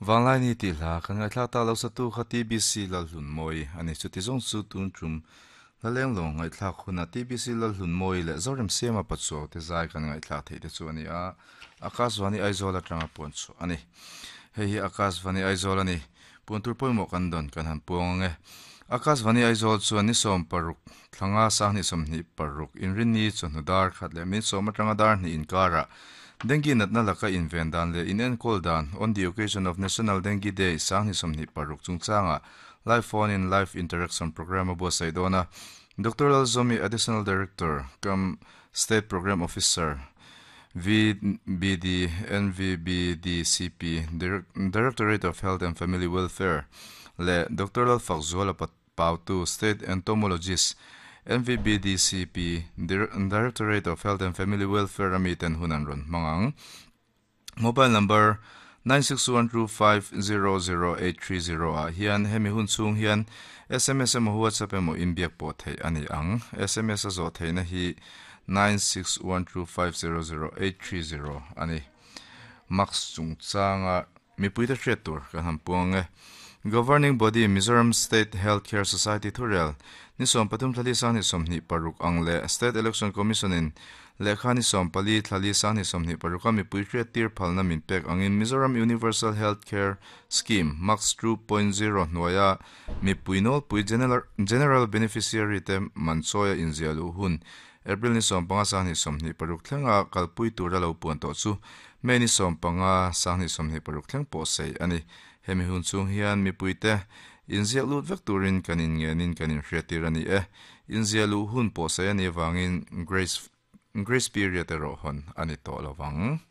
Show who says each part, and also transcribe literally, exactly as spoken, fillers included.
Speaker 1: Vanglai ni tih hla kan ngaihthlak tak lo satu kha T B C Lalhlunmawi a ni. Chuti zawng chu tun tum hla leng lo ngaihthlak hunah T B C Lalhlunmawi leh Zorem Siama Pachuau te zai kan ngaihthlak theih te chu a ni a. Akashvani Aizawl atanga puan chhuah a ni. Hei hi Akashvani Aizawl a ni. Puan tur pawimawh kan dawn kan han puang ang e. Akashvani Aizawl chuan ni sawm paruk thlanga sanghnih sawmhnih paruk inrinni chawhnu dar khat leh min sawm atanga dar hnih inkarah Dengue natna laka inven dan leh in enkawl dan on the occasion of National Dengue Day sanghnih sawmhnih paruk chungchanga live phone in live interaction program a buatsaih dawn a. Doctor Lalzomi, Additional Director cum State Program Officer, V B D N V B D C P, Directorate of Health and Family Welfare leh Doctor Lalfakzuala Pautu, State Entomologist, N V B D C P, Directorate of Health and Family Welfare a miten hun an rawn hmang ang. Mobile number nine six one two five zero zero eight three zero ah hian hemi hun chhung hian S M S emaw WhatsApp emaw inbiak pawh theih a ni ang. S M S a zawh theihna hi nine six one two five zero zero eight three zero a ni. Max chungchanga mipui te hriat tur kan han puang e. Governing Body Mizoram State Healthcare Society thurel ni sawm pathum thlali sanghnih sawmhnih paruk ang leh State Election Commission in lehkha ni sawm pali thlali sanghnih sawmhnih paruka mipui hriat tir phalna min pek angin Mizoram Universal Healthcare Scheme Max two point zero hnuaia mipui nawlpui General, General Beneficiary te manchawia inziah luh hun April ni sawm panga sanghnih sawmhnih paruk thlenga kalpui tura lo puan tawh chu May ni sawm panga sanghnih sawmhnih paruk thleng pawh sei a ni. Hemi hun chung hian mipui te inziah lut vek turin kan inngenin kan inhriat tir a ni e. Inziah luh hun pawh sei a ni avangin grace, grace period erawh hawn a ni tawh lovang.